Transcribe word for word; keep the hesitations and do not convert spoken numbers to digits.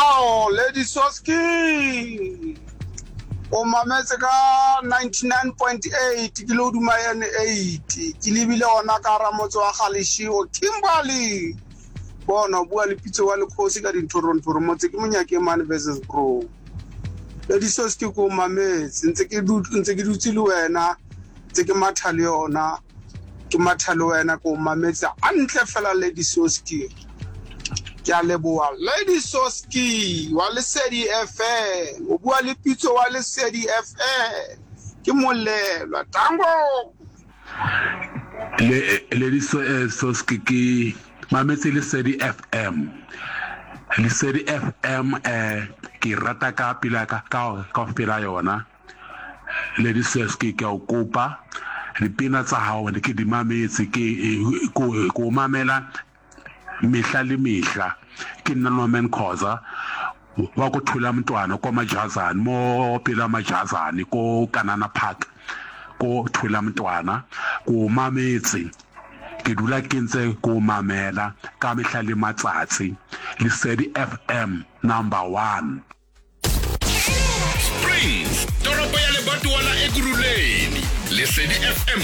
Ao, Lady Soski. O mametse ka ninety-nine point eight ke le hodima N eight. Ke lebile ona ka hara motse wa Galeshewe, Kimberley. Bona o bua le Pitso wa Lekgosi ka dinthorong-thorong motse ke monyake mane versus bro. Lady Soski ko mametse ntse ke ntse ke dutse le wena, ntse ke matha le yona. Ke matha le wena ko mametse hantle fela Lady Soski. Ke a leboha Lady Soski wa Lesedi F M. O bua le Pitso wa Lesedi F M. Ke molelwa tango. Le Lady Soski ke mametse Lesedi F M. Lesedi F M eh ke rata ka pila ka ka ka pela yona. Lady Soski ke o kopa dipina tsa hao ke di mametse ke ko ko mamela mehla le mehla. Ke nna Norman Khoza wa go thula mntwana ko Majazane mo pela Majazane ko Kanana Park ko thula mntwana ko mametse ke dula ke ntse ko mamela ka mehla le matsatsi. Lesedi F M number one. Springs toropo ya lebatowa la Ekurhuleni. Lesedi F M